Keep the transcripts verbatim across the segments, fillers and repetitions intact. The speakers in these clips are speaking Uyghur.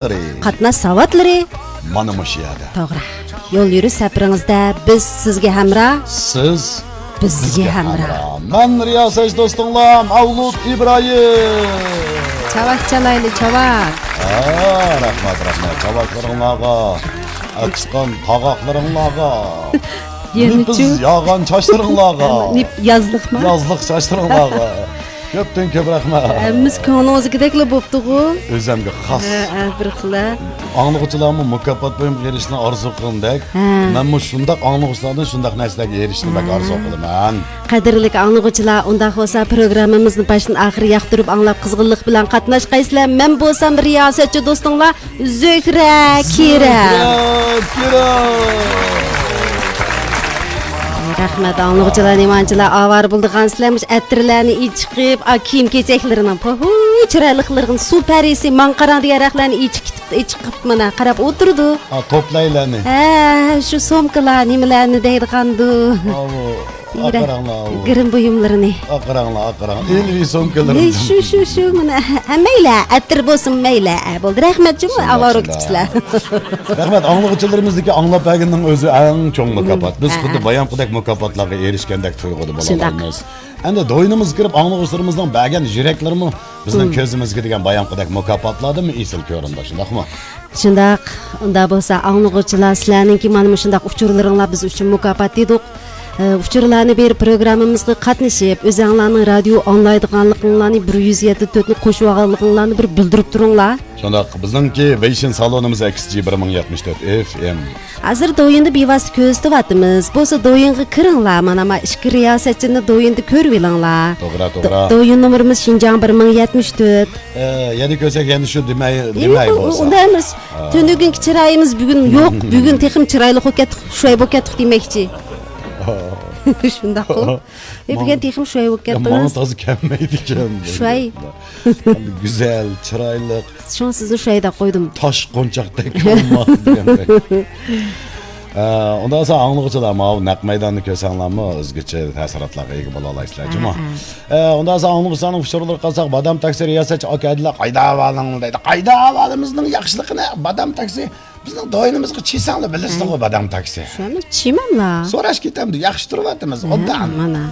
قاتناش ساۋاتلىرى. مانا مۇشۇ يەردە. توغرا. يول يۈرۈش سەپىرىڭىزدە بىز سىزگە ھەمراھ. سىز بىزگە ھەمراھ. مەن رىياسەتچى دوستۇڭلار مەۋلۇت ئىبراھىم. چاۋاك چالايلى، چاۋاك. ھە، رەھمەت، رەھمەت. چاۋاكلىرىڭلارغا، ئاچقان قاغاقلىرىڭلارغا. يەنىچۇ؟ نېپىز ياغان چاچلىرىڭلارغا. نېپ-، يازلىقمۇ؟ يازلىق چاچلىرىڭلارغا. كۆپتىن كۆپ رەھمەت. ھەممىسى كۆڭلىڭىزدىكىدەكلا بوپتىغۇ. ئۆزەمگە خاس. ھە، ھە، بىر خىل. ئاڭلىغۇچىلارمۇ مۇكاپات بۇيۇمغا ئېرىشىشنى ئارزۇ قىلغىنىدەك، ھە. مەنمۇ شۇنداق ئاڭلىغۇچىلاردىن شۇنداق نەرسىلەرگە ئېرىشىشنى بەك ھە. ئارزۇ قىلىمەن. قەدىرلىك ئاڭلىغۇچىلار، ئۇنداق بولسا پروگراممىمىزنى باشتىن ئاخىر ياقتۇرۇپ ئاڭلاپ قىزغىنلىق بىلەن قاتناشقايسىلەر. مەن بولسام رىياسەتچى دوستۇڭلار زۆھرە كىرە. زۆھرە كىرە. رەھمەت، ئاڭلىغۇچىلار، نېمانچىلار ئاۋارە بولىدىغانسىلەر، مۇشۇ ئەتىرلەرنى ئېچىقىپ، ئا، كىيىم-كېچەكلىرىنىڭ پوھۇ، چىرايلىقلىرىنى، سۇ پەرىسى، ماڭا قاراڭ دېگەن رەقلەرنى ئېچىقىپ، ئېچىقىپ، مانا، قاراپ ئولتۇرىدۇ. ئا، توپلايلارنى. ھە، شۇ سومكىلار، نېمىلەرنى دەيدىغاندۇ. ئاۋۇ، ئا، قاراڭلار، ئاۋۇ. گىرىم بۇيۇملىرىنى. ئا، قاراڭلار، ئا، قاراڭ. ئىلمىي سومكىلىرىنى. شۇ، شۇ، شۇ، مانا، ھە، مەيلى، ئەتىر بولسۇن، مەيلى، ئە، بولدى. رەھمەت جۇمۇ، شۇنداق، ئاۋارە شۇنداق. كېتىپسىلەر. رەھمەت، ئاڭلىغۇچىلىرىمىزدىكى ئاڭلاپ بەرگىنىڭ ئۆزى ئەڭ چوڭ مۇكاپات. بىز ھە، خۇددى ھە. بايامقىدەك مۇكاپاتلارغا ئېرىشكەندەك تۇيغۇدا شۇنداق. بولالايمىز. ئەمدى دوينىمىزغا كىرىپ ئاڭلىغۇچىلىرىمىزنىڭ بەرگەن يۈرەكلىرىمۇ بىزنىڭ مم. كۆزىمىزگە دېگەن بايامقىدەك مۇكاپاتلاردىنمۇ ئېسىل كۆرۈنىدۇ، شۇنداقمۇ؟ شۇنداق. ئۇنداق بولسا، ئاڭلىغۇچىلار، سىلەرنىڭكى مانا مۇشۇنداق ئۇچۇرلىرىڭلار بىز ئۈچۈن مۇكاپات دېدۇق. ئە، ئۇچۇرلارنى بېرىپ، پروگراممىمىزغا قاتنىشىپ، ئۆزەڭلارنىڭ رادىيو ئاڭلايدىغانلىقىڭلارنى، بىر يۈز يەتتە تۆتنى قوشۇۋالغانلىقىڭلارنى بىر بىلدۈرۈپ تۇرۇڭلار. شۇنداق، بىزنىڭكى ۋېيشىن سالونىمىز ئېكس جى بىر مىڭ يەتمىش تۆت ئېف ئېم. ھازىر دويىندا بىۋاسىتە كۆرسىتىۋاتىمىز. بولسا دويىنغا كىرىڭلار. مانا، ما ئىككى رىياسەتچىنى دويىندا كۆرۈۋېلىڭلار. توغرا، دو-، توغرا. دويىن نومۇرىمىز شىنجاڭ بىر مىڭ يەتمىش تۆت. ئە، يەنە كۆرسەك، يەنە شۇ دېمەي، ئى، دېمەي ئۇ، بولسا. ئۇنداق ئەمەس. ھا. تۈنۈگۈنكى چىرايىمىز بۈگۈن يوق. بۈگۈن تېخىمۇ چىرايلىق بولۇپ كەتتۇق، شۇي بولۇپ كەتتۇق دېمەكچى. ھا. شۇنداققۇ. ئى، بۈگۈن ماڭا، تېخىمۇ شۇي بولۇپ يا، ماڭا كەتتىڭىز. تازا كەلمەيدىكەن بۇ شۇي. گەپلەر. گۈزەل، چىرايلىق. شۇڭا سىزنى شۇي دەپ قويدۇم. تاش قونچاقتەك ئالما دېگەندەك. ئە، ئۇنداق بولسا ئاڭلىغۇچىلار، ماۋۇ نەق مەيداننى كۆرسەڭلارمۇ ئۆزگىچە تەسىراتلارغا ئىگە بولالايسىلەر، جۇمۇ. ھە، ھە. ئە، ئۇنداق بولسا ئاڭلىغۇچىلارنىڭ ئۇچۇرلىرىغا قارىساق، بادام تاكسى رىياسەتچى ئاكا ھەدىلەر قايدا ئەھۋالىڭ دەيدۇ. قايدا ئەھۋالىمىزنىڭ ياخشىلىقىنى، بادام تاكسى بىزنىڭ دوينىمىزغا چىساڭلار بىلىسىزغۇ، ھە. بادام تاكسى. شۇنى چىمەملا. سوراش كېتەمدۇ، ياخشى تۇرۇۋاتىمىز، ھە، ئوبدان. مانا.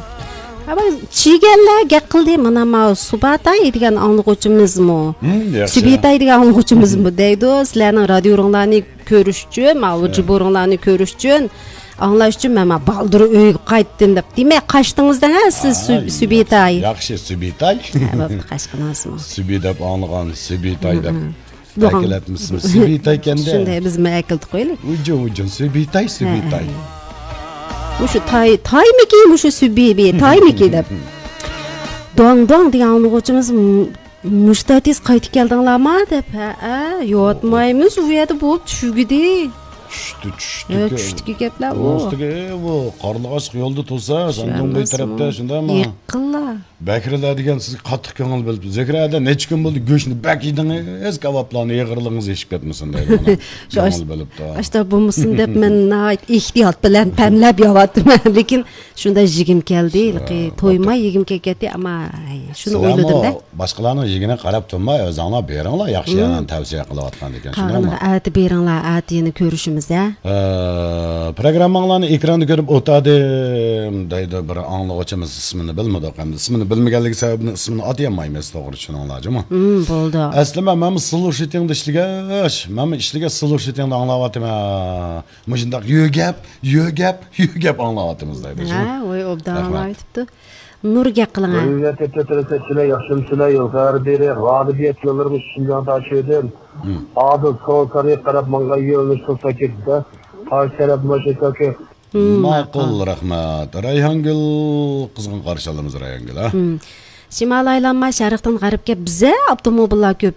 ھە، بۇ چىگەنلەر گەپ قىلدى، مانا ماۋۇ سۇباتاي دېگەن ئاڭلىغۇچىمىزمۇ، ھىم، ياخشى. سۈبىتاي دېگەن ئاڭلىغۇچىمىزمۇ دەيدۇ، سىلەرنىڭ رادىيورۇڭلارنى كۆرۈش ئۈچۈن، ماۋۇ ھە. جىبورۇڭلارنى كۆرۈش ئۈچۈن، ئاڭلاش ئۈچۈن مەن مانا بالدۇر ئۆيگە قايتتىم دەپ. دېمەك، قاچتىڭىز دەڭ ھە سىز، ھە، سۈ-، سۈبىتاي. ياخشى، سۈبىتاي. ھە، بوپتۇ، قاچقىنىڭىزمۇ. سۈبى دەپ ئاڭلىغان، سۈبىتاي دەپ. ھىم، ھىم. ئەكېلەتمىسىمۇ، سۈبىتاي ئىكەندە. شۇنداق، بىزمۇ ئەكېلىپ قويىلى. ئۇجۇن، ئۇجۇن، سۈبىتاي، ھە، سۈبىتاي. ھە. مۇشۇ تاي، تايمىكى، مۇشۇ سۈبى، بى، تايمىكى دەپ. دوڭ، دوڭ دېگەن ئاڭلىغۇچىمىز، م-، مۇشتاتىس قايتىپ كەلدىڭلارما دەپ. ھەئە، ياتمايمىز، ئۇ يەردە بولۇپ چۈشىدى. چۈشتى، چۈشتىكى. ھە، چۈشتىكى گەپلەر ئۇ. ئۇستىكى ئۇ قارلىغاچلىق يولدا تۇرسا، ساندۇڭبەي تەرەپتە، شۇنداقمۇ؟ يېقىنلا. بەكرىلەر دېگەن سىزگە قاتتىق كۆڭۈل بۆلۈپتۇ. زۆھرە ھەدە نەچچە كۈن بولدى گۆشنى بەك يېدىڭىز، كاۋاپلارنى ئېغىرلىقىڭىز ئېشىپ كەتمىسۇن دەيدۇ. مانا شۇ كۆڭۈل بۆلۈپتۇ. ئاشتا بولمىسۇن دەپ مەن ناھايىتى ئېھتىيات بىلەن تەملەپ يەۋاتىمەن. لېكىن شۇنداق يېگۈم كەلدى، شۇ، ھېلىقى تويماي يېگۈم كەلگەتتى، ئەمما شۇنى ئويلىدىم-دە. سىلەرمۇ باشقىلارنىڭ يېگىنىگە قاراپ تۇرماي، ئۆزۈڭلار بېرىڭلار، ياخشى يەرلەرنى تەۋسىيە قىلىۋاتقاندىكىن، شۇنداقمۇ؟ قالغىنىغا ئەتە بېرىڭلار، ئەتە يەنە كۆرۈشىمىز، ھە؟ ئە، پروگرامماڭلارنى ئېكراندا كۆرۈپ ئولتۇردۇم، دەيدۇ بىر ئاڭلىغۇچىمىز، ئىسمىنى بىلمىدۇق، ئەمدى ئىسمىنى بىلمىگەنلىكى سەۋەبىدىن ئىسمىنى ئاتىيالمايمىز، توغرا چۈشىنىڭلار، جۇمۇ. ھىم، بولدى. ئەسلى مەن، مەنمۇ سلۇشىتىڭدا ئىشلىگەچ، مەنمۇ ئىشلىگەچ سلۇشىتىڭدا ئاڭلاۋاتىمەن. مۇشۇنداق يۆگەپ، يۆگەپ، يۆگەپ ئاڭلاۋاتىمىز دەيدۇ. ھە، ۋاي، ئوبدان ئاڭلاۋېتىپتۇ. نۇر گەپ قىلىڭ، ھە. ھۆرمەتلىك تۆتىرەسەتچىلەر، ياخشىمۇسىلەر؟ يۇقىرىدا بېرى غالىبىيەت يوللىرىمىز شىنجاڭدا ئاچىلدى. ھىم. ئادىل سول تەرەپكە قاراپ ماڭغان يۆنىلىش قىلسا كېتىدۇ. قارشى تەرەپ مۇشۇ كاكا. ھىم، ماقۇل، ماقۇل. رەھمەت. رەيھانگۈل، قىزغىن قارشى ئالىمىز، رەيھانگۈل، ھە؟ ھىم. شىمال ئايلانما شەرقتىن غەربكە بىزە ئاپتوموبىللار كۆپ.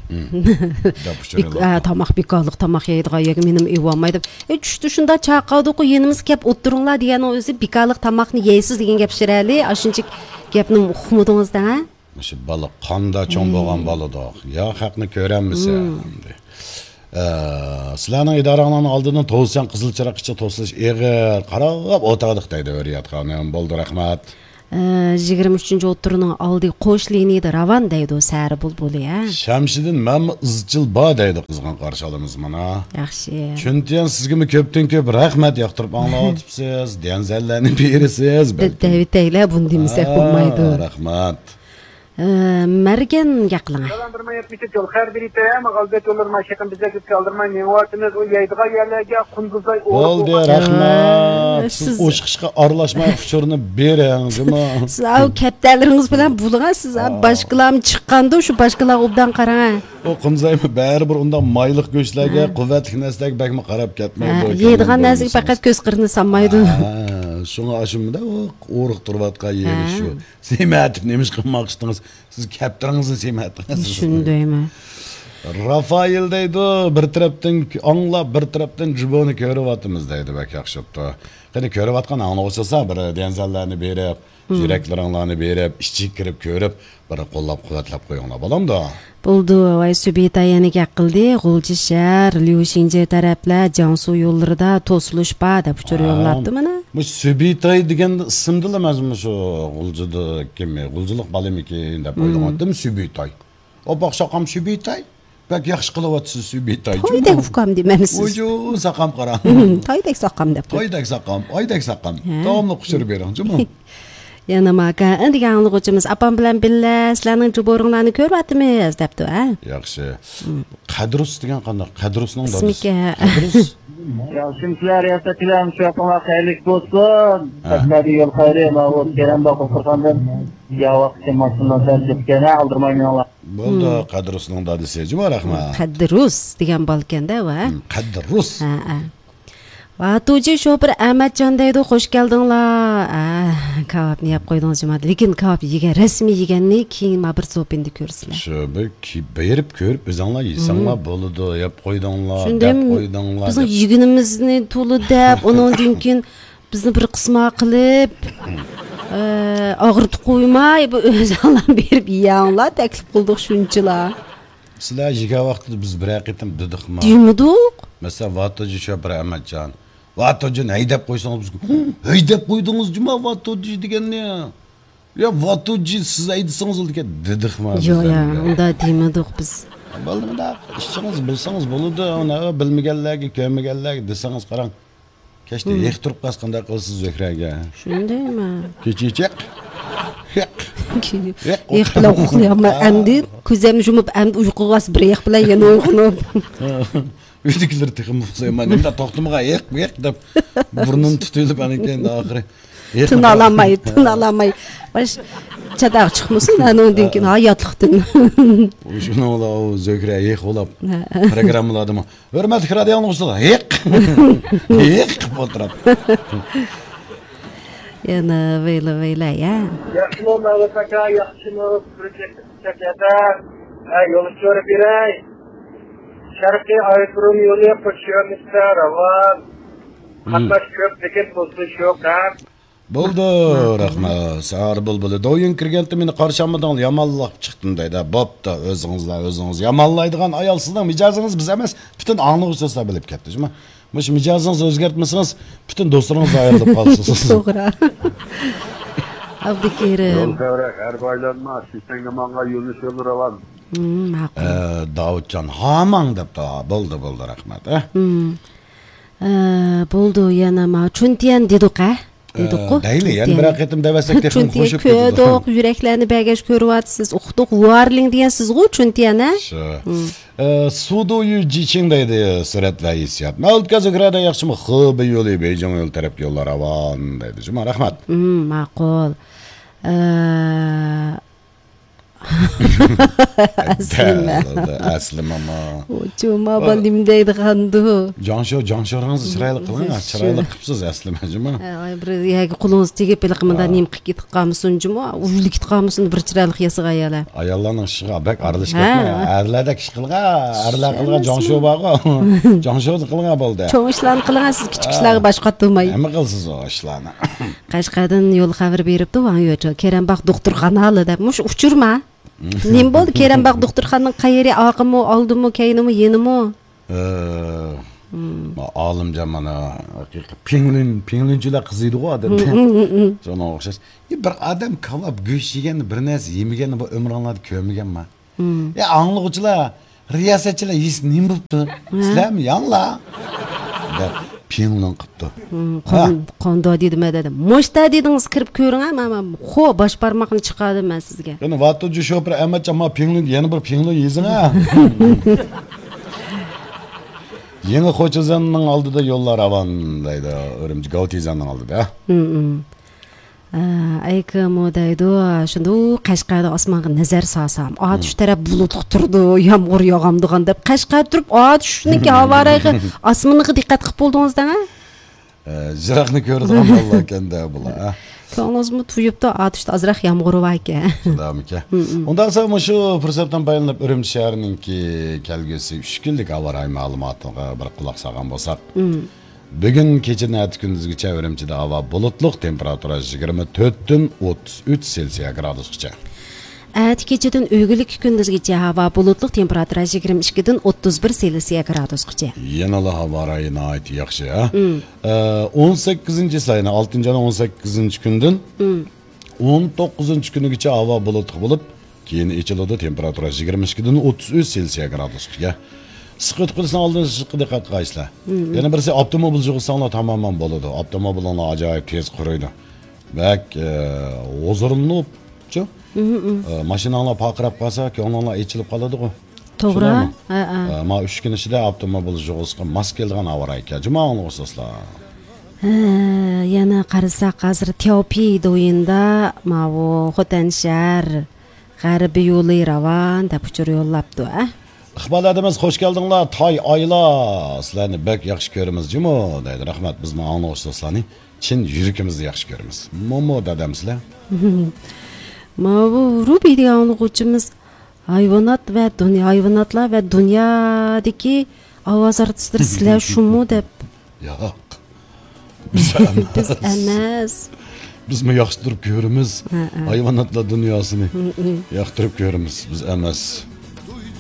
بىك-، ئە، تاماق بىكارلىق، تاماق يەيدىغان يەرگە مېنىمۇ ئېلىۋالماي دەپ. ئەي، چۈشتە شۇنداق چاقىردىقۇ، يېنىمىزغا كەپ ئولتۇرۇڭلار دېگەننىڭ ئۆزى بىكارلىق تاماقنى يەيسىز دېگەن گەپ شىرەلى. ئاشۇنچە گەپنى ئۇقمىدىڭىز دەڭ، ھە؟ مۇشۇ بالا قاندا چوڭ بولغان بالىدۇق. يا خەقنى كۆرەلمىسە ئەمدى. ئە، سىلەرنىڭ ئىدارەڭلارنىڭ ئالدىدىن توسۇشچان قىزىل چىراغقىچە توسۇلۇش ئېغىر. قاراپ ئولتۇردۇق دەيدۇ ھۆرىيەت خانىم. بولدى، رەھمەت. ئە، يىگىرمە ئۈچىنچى ئوتتۇرىنىڭ ئالدى قوش لىنىيىدە راۋان دەيدۇ، سەھەر بۇلبۇلى، ھە؟ شەمشىدىن مەنمۇ ئىزچىل بار دەيدۇ، قىزغىن قارشى ئالىمىز مانا. ياخشى. چۈنتىيەن سىزگىمۇ كۆپتىن كۆپ رەھمەت، ياقتۇرۇپ ئاڭلاۋاتىپسىز، دەنزەللەرنى بېرىسىز، بىز بەلكىم. دەۋېتەيلى، بۇنى دېمىسەك ھە، بولمايدۇ. رەھمەت. ئە، مەرگەن گەپ قىلىڭ. ئالدىرماي ئۆتمىشىپ يول خەير بېرىپتۇ، ھە، ماغالبەت يوللىرىما شېخىم بىزگە كۆزگە ئالدىرماي مېڭىۋاتىمىز، ئۇ يەيدىغان يەرلەرگە قۇندۇزدەي ئورۇق بولغان. بولدى، رەھمەت. سىز سىز ئوشۇق ئىشقا ئارىلاشماي ئۇچۇرنى بېرىڭ، جۇمۇ. سىز ئاۋۇ كەپتەرلىرىڭىز بىلەن بولغان، سىز ئاۋۇ باشقىلارمۇ چىققاندۇ، شۇ باشقىلارغا ئوبدان قاراڭ. ئۇ قۇمزايمۇ بەرىبىر ئۇنداق مايلىق گۆشلەرگە، ھە، قۇۋۋەتلىك نەرسىلەرگە بەكمۇ قاراپ كەتمەيدۇ، ھە، يەيدىغان نەرسىگە پەقەت كۆز قىرىنى سالمايدۇ. ھە، شۇڭا ئاشۇنداق ئورۇق تۇرۇۋاتقان يېرى شۇ. ھە. سېمەتىپ نېمە ئىش قىلماقچىدىڭىز؟ سىز كەپتىرىڭىزنى سېمەتىڭىز. چۈشىنىدۇ، ھەممە. رافائېل دەيدۇ، بىر تەرەپتىن ئاڭلاپ، بىر تەرەپتىن جۇبونى كۆرۈۋاتىمىز دەيدۇ، بەك ياخشى بوپتۇ. قېنى، كۆرۈۋاتقان ئاڭلىغۇچى بولسا، بىر دەنزەللەرنى بېرىپ، يۈرەكلىرىڭلارنى بېرىپ، ئىچىگە كىرىپ كۆرۈپ، بىر قوللاپ قۇۋۋەتلەپ قويۇڭلار، بولامدۇ؟ بولدى، ۋاي، سۈبىتاي يەنە گەپ قىلدى، غۇلجا شەھەر، ليۇشىڭجې تەرەپلەر، جياڭسۇ يوللىرىدا توسۇلۇش بار دەپ ئۇچۇر ھە. يوللاپتۇ مانا. مۇشۇ سۈبىتاي دېگەن ئىسىمدىلا مەن مۇشۇ غۇلجىدا كىم، غۇلجىلىق بالىمىكىن دەپ ئويلىغانتىم، سۈبىتاي. ئاپاق ساقام سۈبىتاي، بەك ياخشى قىلىۋاتىسىز سۈبىتاي. تويدەك ئۇكام دېمەمسىز؟ ۋۇجۇ، ساقام قاراڭ. تويدەك ساقام دەپ قوي. تويدەك ساقام، ئايدەك ساقام. ھە. داۋاملىق ئۇچۇر بېرىڭ، جۇمۇ. يەنە ماكا، دېگەن ئاڭلىغۇچىمىز، ئاپام بىلەن بىللە سىلەرنىڭ جۇبورۇڭلارنى كۆرۈۋاتىمىز دەپتۇ، ھە؟ ياخشى. قەدرۇس دېگەن قانداق؟ قەدرۇس نېمە دادىسى؟ ئىسمىكەن. قەدرۇس؟ ياخشىمۇسىلەر، رىياسەتچىلەر، شۇ ھەپتىڭلار خەيرلىك بولسۇن. ھە. سەپلەردە يول خەيرى، ماۋۇ كېرەم باقۇپ تۇرغاندىن ياۋاق كېمەسىنلا سەل كەتكەن، ھە، ئالدىرىماي مېڭىڭلار. بولدى، قەدرۇسنىڭ دادىسى، جۇما رەھمەت. قەددىرۇس دېگەن بالىكەن-دە، ۋە؟ قەددىرۇس. ھە، ھە. ۋاتۇجى شوپۇر ئەمەتجان دەيدۇ، خوش كەلدىڭلار. ئە، كاۋاپنى يەپ قويدىڭىز جۇما. لېكىن كاۋاپ يېگەن، رەسمىي يېگەننى كېيىن ما بىر زوپىندا كۆرىسىلەر. شۇ بىر كى-، بېرىپ كۆرۈپ ئۆزۈڭلار يېسەڭلار بولىدۇ، يەپ قويدۇڭلار، شۇنداق دەپ قويدۇڭلار بىزنىڭ دەپ. يېگىنىمىزنى تولا دەپ، ئۇنىڭدىن كېيىن بىزنى بىر قىسما قىلىپ، ئە، ئاغرىتىپ قويماي، بۇ ئۆزۈڭلار بېرىپ يەڭلار، تەكلىپ قىلدۇق شۇنچىلا. سىلەر يېگەن ۋاقتىدا بىز بىرەر قېتىم دېدۇقمۇ؟ دېمىدۇق. مەسىلەن، ۋاتوجى شوپۇر ئەمەتجان. ۋاتوجىنى ھەيدەپ قويسىڭىز، بىز، ھەيدەپ قويدىڭىز جۇما ۋاتوجى دېگەننى. يا ۋاتوجى سىز ھەيدىسىڭىز بولىدىكەن، دېدۇقمۇ بىز ياق، ياق، ئەمدى؟ ئۇنداق دېمىدۇق بىز. بولدى، مۇنداق ئىچىڭىز بىلسىڭىز بولىدۇ، ئۇنى بىلمىگەنلەرگە، كۆرمىگەنلەرگە دېسىڭىز قاراڭ. كەچتە ھېق تۇرۇپ قالسا قانداق قىلىسىز زۆھرەگە؟ شۇندايمۇ؟ كېچىچەك. ھېق. ھېق. ھېق بىلەن ئۇخلىيالماي، ئەمدى كۆزۈمنى يۇمۇپ، ئەمدى ئۇيقۇغا بىر ھېق بىلەن يەنە ئويغىنىپ. ئۆيدىكىلەر تېخىمۇ ئۇخلايمەن. نېمە توختىمىغان ھېق، ھېق دەپ بۇرنۇمنى تۇتۇۋېلىپ، ئاندىن كېيىن ئاخىرى ھېق. تىنالاماي، تىنالاماي. باش چاتاق چىقمىسۇن، ئانىڭدىن كېيىن ھاياتلىقتىن. شۇنىڭ بىلەن ئۇ زۆھرە ھېق بولاپ، ھە، پروگراممىلاردىمۇ ھۆرمەتلىك رادىئو ئاڭلىغۇچىلار، ھېق! ھېق قىلىپ ئولتۇرۇپ. يەنە ۋەيلە، ۋەيلە، يا. ياخشىمۇ، مەۋلۇت ئاكا، ياخشىمۇ؟ بىر چەككە، ھە، يول ئۇچۇرى بېرەي. شەرقىي ئايروپىلان يولى قوچۇش يۆنىلىشىدە راۋان. قاتناش كۆپ، لېكىن توسۇلۇش يوق، ھە. بولدى، رەھمەت. سەھەر بۇلبۇلى. دويۇن كىرگەنتى مېنى قارشى ئالمىدىڭلار، يامانلاپ چىقتىم دەيدۇ. بوپتۇ، ئۆزىڭىزلا ئۆزىڭىز يامانلايدىغان ئايال سىزنىڭ مىجەزىڭىز بىز ئەمەس، پۈتۈن ئاڭلىغۇچىلار بىلىپ كەتتى، جۇما. مۇشۇ مىجەزىڭىزنى ئۆزگەرتمىسىڭىز، پۈتۈن دوستلىرىڭىز ئايرىلىپ قالىسىز. توغرا. ئابدۇكېرىم. يول تەۋرەك، ھەربا ئايلانما، شىشەڭگە ماڭغان يۆنىلىش يولى راۋان. ھىم، ماقۇل. ئە، داۋۇتجان، ھاماڭ دەپتۇ. بولدى، بولدى، رەھمەت، ئە. ھىم. ئە، بولدى، يەنە ما، چۈنتيەن دېدۇق، ئە؟ دېدۇققۇ؟ ئە، دەيلى، يەنە بىرەر قېتىم دەۋەتسەك تېخىمۇ چۈنتيەن خوش بولىدۇ. كۆردۇق، يۈرەكلەرنى بەگەش كۆرۈۋاتىسىز، ئۇقتۇق، ۋارلىڭ دېگەن سىزغۇ، چۈنتيەن، ھە؟ شۇ. ھىم. ئە، سۇدۇيۈ جىچىڭ دەيدۇ، سۈرەت ۋە ھېسسىيات. مەۋلۇت ئاكا، زۆھرە دە ياخشىمۇ؟ خېبېي يولى، بېيجىڭ يولى تەرەپكە يوللار راۋان دەيدۇ. جۇما، رەھمەت. ھىم، ماقۇل. ئە، ئەسلىمە. ئەسلىمەمۇ. جۇما، بۇ نېمە دەيدىغاندۇ؟ جاڭشو، جاڭشورىڭىزنى چىرايلىق قىلىڭ، چىرايلىق قىپسىز ئەسلىمە، جۇما. ھە، بىر يەرگە قولىڭىز تېگىپ، ھېلىقى مۇنداق نېمە قىلىپ كېتىپ قالمىسۇن، جۇما، ئۇۋىلىپ كېتىپ قالمىسۇن، بىر چىرايلىق ياسىغان ئاياللار. ئاياللارنىڭ ئىشىغا بەك ئارىلىشىپ كەتمەڭ. ھە. ئەرلەردەك ئىش قىلغان، ئەرلەر قىلغان جاڭشو بارغۇ. جاڭشونى قىلغان بولدى. چوڭ ئىشلارنى قىلغان، سىز كىچىك ئىشلارغا باش قاتۇرماي. نېمە قىلىسىز ئۇ ئىشلارنى؟ قەشقەردىن يول خەۋىرى بېرىپتۇ، ۋاڭ يۆچو، كېرەمباغ دوختۇرخانىلى دەپ. مۇشۇ ئۇچۇرما؟ نېمە بولدى؟ كېرەمباغ دوختۇرخانىنىڭ قەيىرى؟ ئارقىمۇ، ئالدىمۇ، كەينىمۇ، يېنىمۇ؟ ئە، ما ئالىمجان مانا ھەقىقىي پىڭلۈن، پىڭلۈنچىلەر قىزىيدىغۇ ئادەم. شۇنىڭغا ئوخشاش. ئى، بىر ئادەم كاۋاپ گۆش يېگەننى، بىر نەرسە يېمىگەننى بۇ ئۆمرۈڭلاردا كۆرمىگەنما؟ يا، ئاڭلىغۇچىلار، رىياسەتچىلەر يېسە نېمە بوپتۇ؟ سىلەرمۇ يەڭلار دەپ پىڭلۈن قىپتۇ. قان-، قانداق دېدىم دېدىم. مۇشتا دېدىڭىز، كىرىپ كۆرۈڭ، ھە، مانا، خو، باش بارماقنى چىقاردىم مەن سىزگە. قېنى، ۋاتۇجى شوپۇر ئەمەتجان، ما پىڭلۈن، يەنە بىر پىڭلۈن يېزىڭ، ھە. يېڭى خوچىزەننىڭ ئالدىدا يوللار راۋان دەيدۇ، ئۈرۈمچى گاۋتىزەننىڭ ئالدىدا. ئە، ئەيكىمۇ دەيدۇ، شۇنداق قەشقەردە ئاسمانغا نەزەر سالسام، ئاتۇش تەرەپ بۇلۇتلۇق تۇرىدۇ، يامغۇر ياغامدىغان دەپ، قەشقەر تۇرۇپ ئاتۇشنىڭكى ھاۋا رايىغا، ئاسمىنىغا دىققەت قىلىپ بولدىڭىز دەڭە. ئە، يىراقنى كۆرىدىغان بالىلار ئىكەن-دە بۇلار، ھە. كۆڭلىڭىزمۇ تويۇپتۇ، ئاتۇشتا ئازراق يامغۇر بار ئىكەن. شۇنداقمىكەن؟ ئۇنداقسا مۇشۇ پۇرسەتتىن پايدىلىنىپ، ئۈرۈمچى شەھىرىنىڭكى كەلگۈسى ئۈچ كۈنلۈك ھاۋا رايى مەلۇماتىغا بىر قۇلاق سالغان بولساق. بۈگۈن كېچىدىن ئەتە كۈندۈزگىچە ئۈرۈمچىدە ھاۋا بۇلۇتلۇق، تېمپېراتۇرا يىگىرمە تۆتتىن ئوتتۇز ئۈچ سېلسىيە گرادۇسقىچە. ئەتە كېچىدىن ئۆگۈنلۈككە كۈندۈزگىچە ھاۋا بۇلۇتلۇق، تېمپېراتۇرا يىگىرمە ئىككىدىن ئوتتۇز بىر سېلسىيە گرادۇسقىچە. يەنىلا ھاۋا رايى ناھايىتى ياخشى، ھە؟ ئە، ئون سەككىزىنچى ساينى، ئالتىنچى ئاينىڭ ئون سەككىزىنچى كۈنىدىن ئون توققۇزىنچى كۈنىگىچە ھاۋا بۇلۇتلۇق بولۇپ، كېيىن ئېچىلىدۇ، تېمپېراتۇرا يىگىرمە ئىككىدىن ئوتتۇز ئۈچ سېلسىيە گرادۇسقىچە. ئىسسىق ئۆتۈپ قېلىشنىڭ ئالدىنى ئېلىشقا دىققەت قىلغايسىلەر. يەنە بىرسى، ئاپتوموبىل يىغساڭلار تامامەن بولىدۇ. ئاپتوموبىلىڭلار ئاجايىپ تېز قۇرۇيدۇ. بەك، ئە، ھۇزۇرلىنىپ، شۇ. ئە، ماشىناڭلار پارقىراپ قالسا، كۆڭلۈڭلار ئېچىلىپ قالىدىغۇ. توغرا. شۇنداقمۇ؟ ھە، ھە. ئە، ما ئۈچ كۈن ئىچىدە ئاپتوموبىل يىغىشقا ماس كېلىدىغان ھاۋا رايى ئىكەن. جۇما ئاڭلىغۇچى دوستلار. ھە، يەنە قارىساق، ھازىر تياۋپېي دويىندا ماۋۇ خوتەن شەھەر غەربىي يولى راۋان دەپ ئۇچۇر يوللاپتۇ، ھە؟ ئىقبال ھەدىمىز، خوش كەلدىڭلار، تاي ئايلار. سىلەرنى بەك ياخشى كۆرىمىز جۇمۇ، دەيدۇ. رەھمەت، بىزمۇ ئاڭلىغۇچى دوستلارنى چىن يۈرىكىمىزدىن ياخشى كۆرىمىز. مومو دادام سىلەر. ماۋۇ روبى دېگەن ئاڭلىغۇچىمىز، ھايۋانات ۋە دۇنيا، ھايۋاناتلار ۋە دۇنيادىكى ئاۋاز ئارتىسلىرى سىلەر شۇمۇ دەپ. ياق. بىز ئەمەس. بىز ئەمەس. بىزمۇ ياقتۇرۇپ كۆرىمىز. ھە، ھە. ھايۋاناتلار دۇنياسىنى ياقتۇرۇپ كۆرىمىز. بىز ئەمەس.